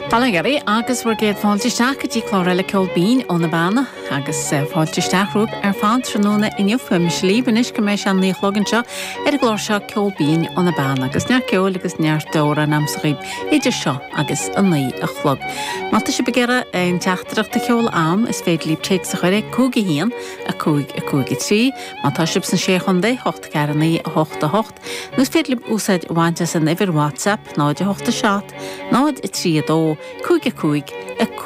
Bail ó Dhia oraibh agus bhur gcéad fáilte isteach go dtí clár eile Ceol Binn ó na Beanna agus fáilte isteach romhaibh ar fad tráthnóna inniu. Beidh mise libh anois go mbeidh sé an 9 a chlog anseo ar an gclár seo Ceol Binn ó na Beanna agus neart ceoil agus neart amhrán a'msa dhaoibh idir seo agus an 9 a chlog. Má tá sibh ag iarraidh aon teachtaireacht a sheoladh a'm is féidir libh téacs a chur ag 5 1 5 5 3, má tá sibh sna Sé Chontae, 8 4 9 8 8. Nó is féidir libh úsáid a bhaint as an uimhir WhatsApp 0 8 7 0 3 2 5 5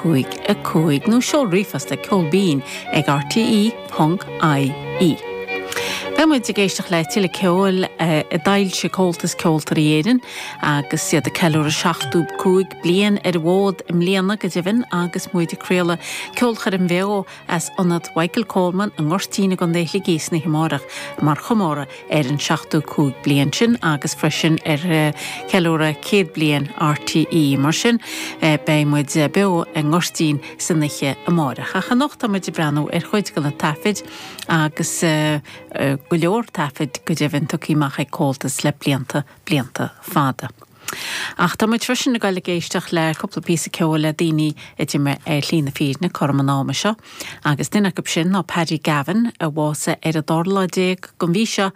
5 5 nó seol ríomhphost ag ceolbinn ag rte ponc ie. Beidh muid ag éisteacht le tuilleadh ceoil a d'fhoilsigh Comhaltas Ceoltóirí Éireann agus iad ag ceiliúradh 75 bliain ar an bhfód i mbliana go deimhin agus muid ag craoladh ceolchoirm bheo as Ionad Mhichael Coleman i nGoirtín i gContae Shligigh san oíche amárach mar chomóradh ar an 75 bliain sin agus freisin ar cheiliúradh 100 bliain RTÉ. Mar sin, beidh muid beo i nGoirtín san oíche amárach. Ach anocht tá muid ag breathnú ar chuid de na taifid agus go leor taifid go deimhin tugtha amach ag Comhaltas le blianta, blianta fada. Ach tá muid freisin ag dul ag éisteacht le cúpla píosa ceoil le daoine a d'imigh ar shlí na fírinne cothrom an ama seo, agus duine acu sin ná Paddy Gavin, a bhásaigh ar an dara lá déag den mhí seo,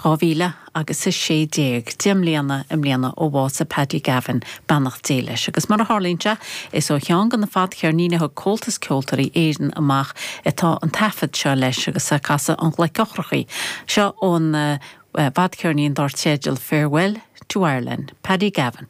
2000 agus 16, 10 mbliana i mbliana ó bhásaigh Paddy Gavin, beannacht Dé leis. Agus mar a tharlaíonn sé, is ó cheann de na fadcheirníní a thug Comhaltas Ceoltóirí Éireann amach atá an taifead seo leis, agus é ag casadh an ghloic eochrachaí seo ón bhfadcheirnín dar teideal Farewell to Ireland, Paddy Gavin.